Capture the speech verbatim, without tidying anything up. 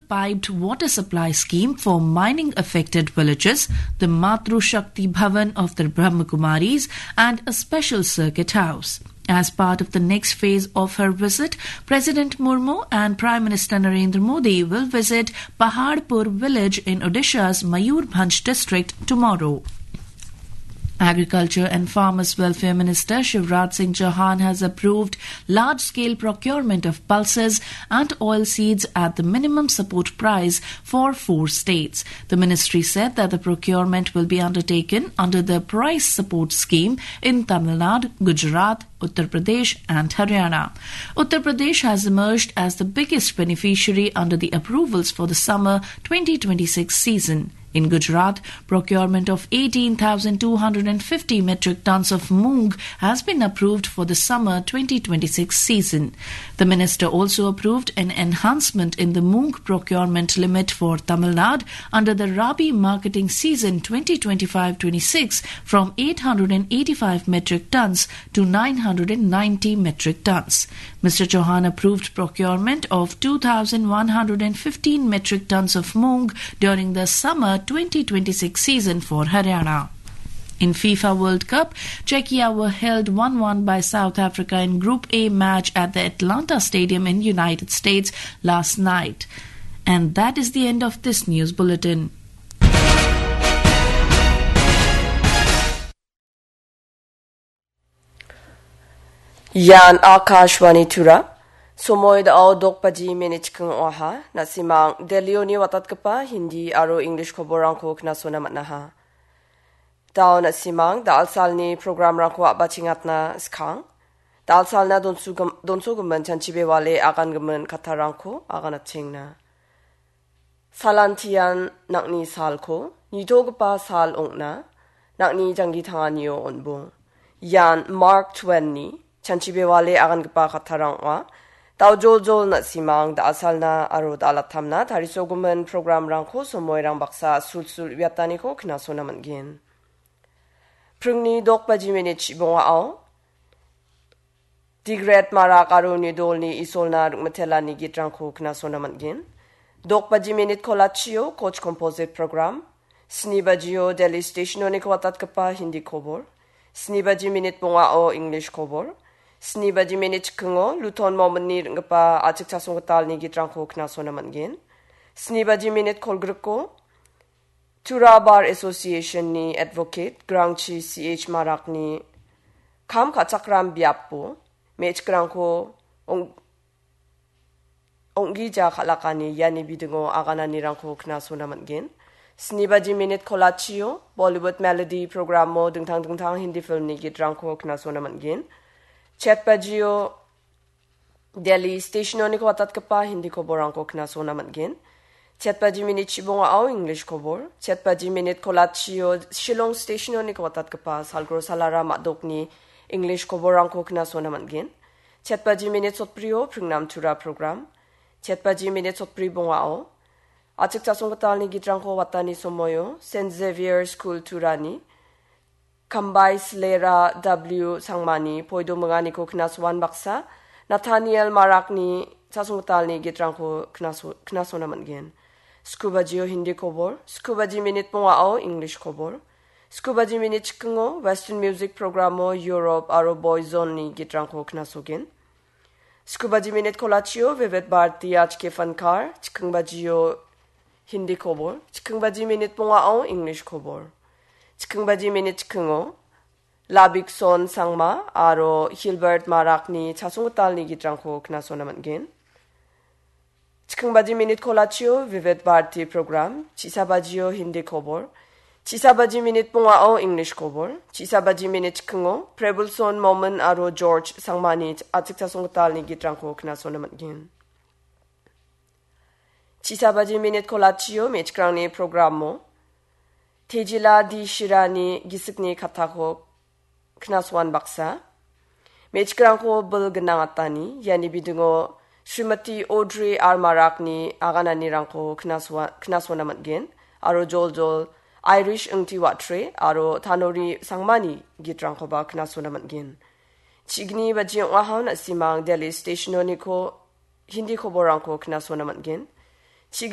piped water supply scheme for mining affected villages, the Matru Shakti Bhavan of the Brahmakumaris, and a special circuit house. As part of the next phase of her visit, President Murmu and Prime Minister Narendra Modi will visit Paharpur village in Odisha's Mayurbhanj district tomorrow. Agriculture and Farmers Welfare Minister Shivraj Singh Chauhan has approved large-scale procurement of pulses and oil seeds at the minimum support price for four states. The ministry said that the procurement will be undertaken under the price support scheme in Tamil Nadu, Gujarat, Uttar Pradesh and Haryana. Uttar Pradesh has emerged as the biggest beneficiary under the approvals for the summer twenty twenty-six season. In Gujarat, procurement of eighteen thousand two hundred fifty metric tons of moong has been approved for the summer twenty twenty-six season. The minister also approved an enhancement in the moong procurement limit for Tamil Nadu under the Rabi marketing season twenty twenty-five twenty-six from eight hundred eighty-five metric tons to nine hundred ninety metric tons. Mister Chauhan approved procurement of two thousand one hundred fifteen metric tons of moong during the summer twenty twenty-six season for Haryana. In FIFA World Cup, Czechia were held one one by South Africa in Group A match at the Atlanta Stadium in United States last night. And that is the end of this news bulletin. Ian Akashvani Tura. Somoi dao dok baji minit chikking ong·aha. Na·simang Delhioni watatgipa Hindi aro English koborangko knasona man·aha. Dao na·simang da·alsalni programrangko a·bachengatna skang. Da·alsalna donsugim-, donsogimin chanchi bewale agangimin kattarangko aganatengna. Salantian nang·ni salko nitogipa sal ong·na, nang·ni janggi tanganio on·bong. Ian Mark Twain-ni chanchi bewale agangipa kattarang ong·a. Daojoljol na·simang da·alsalna aro da·alatamna tarisogimin programrangko somoirang baksa sulsul uiataniko knasona man·gen. Pringni dok baji minit chibongao Digret Marak aro Nidolni Isolna Rikmitelani gitrangko knasona man·gen. Dok baji minit kolachio Koch Composite Program. Sni bajio Delhi Stationoniko watatgipa Hindi kobor. Sni baji minit bongao English kobor. Sni baji minit chikingo Luton Mominni ring·gipa A·chik Chasonggitalni gitrangko knasona man·gen. Sni baji minit kolgriko Tura Bar Association-ni advocate Grangchi C H Marakni kam ka·chakram biapo me·chikrangko ong-, ong·gija kal·akani iani bidingo agananirangko knasona man·gen. Sni baji minit kolachio Bollywood Melody programo dingtang dingtang Hindi filmni gitrangko knasona man·gen. Chet bajio Delhi Stationoniko watatgipa Hindi koborangko knasona man·gen. Chet baji minit chibongao English kobor. Chet baji minit kolachio Shillong Stationoniko watatgipa Salgro Salara Madokni English koborangko knasona man·gen. Chet baji minit sotbrio Pringnam Tura program. Chet baji minit sotbri bongao A·chik Chasonggitalni gitrangko watani somoio Saint Xavier School Turani Kambai Slera W Sangmani poido minganiko knasoan baksa, Nathaniel Marakni Chasonggitalni gitrangko knaso-, knasona man·gen. Skubajio Hindi kobor, skubaji minit bongao English kobor. Skubaji minit chikingo Western Music Programo Europe aro Boyzone-ni gitrangko knasogen. Skubaji minit kolachio Vivid Bharati Aaj Ke Fankar, chikingbajio Hindi kobor, chikingbajii minit bongao English kobor. Chikingbajii minit chikingo Labikson Sangma aro Hilbert Marakni Chasonggitalni gitrangko knasona man·gen. Chikingbajii minit kolachio Vivid Bharati program, chisabajio Hindi kobor, chisabajii minit bongao English kobor, chisabajii minit chikingo Prebulson Momin aro George Sangmani A·chik Chasonggitalni gitrangko knasona man·gen. Chisabaji minit kolachio me·chikrangni programo Tejila D Shirani gisikni kattako knasoan baksa. Me·chikrangko bil gnang atani, iani bidingo Srimati Audrey R Marakni agananirangko knasoa-, knasona man·gen, aro joljol Irish Ingti Watre aro Tanori Sangmani gitrangkoba knasona man·gen. Chigni baji ong·aha na·simang Delhi Stationoniko Hindi koborrangko knasona man·gen.